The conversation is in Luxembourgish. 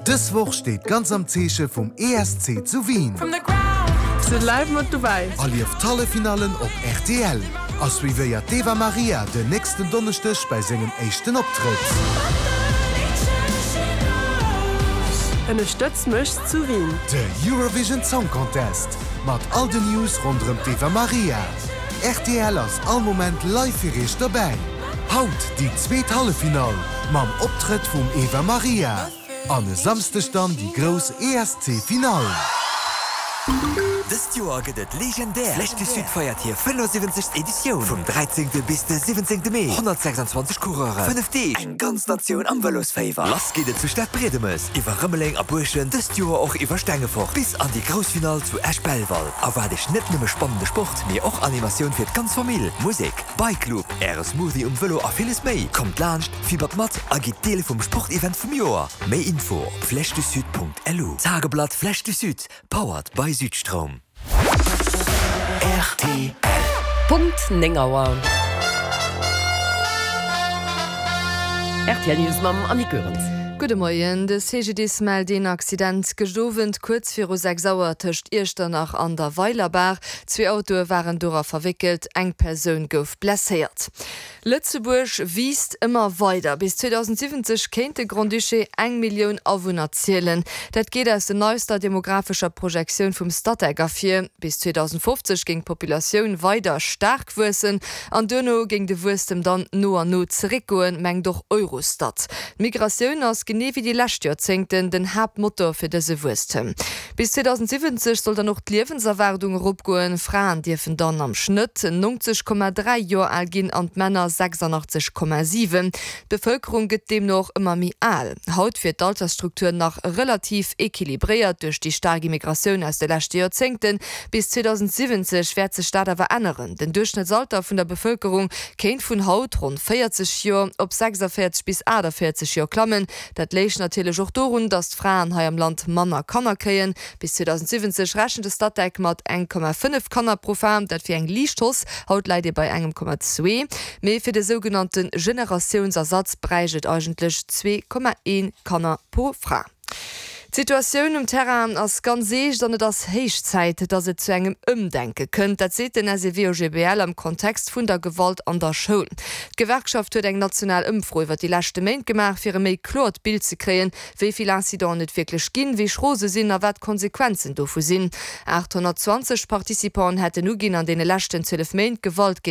Dës Woch steet ganz am Zeeche vum ESC zu Wien. Sidd live mat dobäi! Erlieft d'Halleffinallen op rtl a suivéiert d'Eva Marija den nächsten Donneschdeg bei sengem éischten Optrëtt. Ënnerstëtz mech zu Wien! De Eurovision Song Contest mat all den News ronderëm d'Eva Marija. Rtl ass all Moment live fir iech dobäi. Haut déi zweet Halleffinall mam Optrëtt vum Eva Marija an e Samsdeg dann déi grouss ESC Finall. Dëst Joer gëtt et legendär! D'Flèche du Sud feiert hir 75. Editioun vum 13. bis de 17. Mee. 126 Coureuren, 5 Deeg, eng ganz Natioun am Vëlosféiwer. Lass geet et zu Stadbriedemes, iwwer Rëmeleng a Buerschent, dëst Joer och iwwer Stengefort bis an déi grouss Finall zu Esch-Belval. Erwaart iech net nëmme spannende Sport, mee och Animatioun fir d'ganz Famill, Musek, Bike Loop, Äre Smoothie um Vëlo a villes méi. Kommt laanscht, fibbert mat a gitt Deel vum Sportevent vum Joer. Méi Info op flèchedusud.lu. Tageblatt Flèche du Sud, powered by Südstroum. Rtl. Punkt 9 Auer. Rtl News mam Annick Goerens. Gudde Moien. De CGDIS mellt een Accident gëscht Owend kuerz viru 6 Auer tëscht Iechternach an der Weilerbaach. Zwee Autoe waren dora verwéckelt, eng Persoun gouf blesséiert. Lëtzebuerg wiisst ëmmer weider. Bis 2070 kéint de Grand-Duché eng Millioun Awunner zielen. Dat geet aus der neister demographescher Projektioun vum Statec ervir. Bis 2050 géing d'Populatioun weider staark wuessen an duerno géing de Wuesstem dann no an no zeréckgoen, mengt och Eurostat. D'Migratioun ass, genee wéi déi lescht Joerzéngten, den Haaptmotor fir dëse Wuesstem. Bis 2070 soll dann och d'Liewenserwaardung eropgoen. Fraen dierfen dann am Schnëtt 90,3 Joer al ginn an d'Männer 86,7. D'Bevëlkerung gëtt deemno och ëmmer méi al. Haut wier d'Altersstruktur nach relativ equilibréiert duerch déi staark Immigratioun aus de leschte Joerzéngten. Bis 2070 wäert sech dat awer änneren. Den Duerchschnëttsalter vun der Bevëlkerung kéint vun haut ronn 40 Joer op 46 bis 48 Joer klammen. Dat léich natierlech och dorun, datt d'Fraen hei am Land manner Kanner kréien. Bis 2070 rechent de Statec mat 1,5 Kanner pro Fra. Dat wier eng liicht Hausse, haut läit ee bei engem Komma zwee. Mee fir de sougenannte Generatiounsersatz bräicht et eigentlech 2,1 Kanner pro Fra. D'Situatioun um Terrain ass ganz eescht an et ass héich Zäit, datt et zu engem Ëmdenke kënnt. Dat seet den SEW-OGBL am Kontext vun der Gewalt an der Schoul. D'Gewerkschaft huet eng national Ëmfro iwwer déi leschte Méint gemaach, fir e méi kloert Bild ze kréien, wéi vill Incidenten et wierklech ginn, wéi schro se sinn a wat d'Konsequenzen dovu sinn. 820 Participanten hätten uginn, an deene leschten 12 Méint Gewalt géint.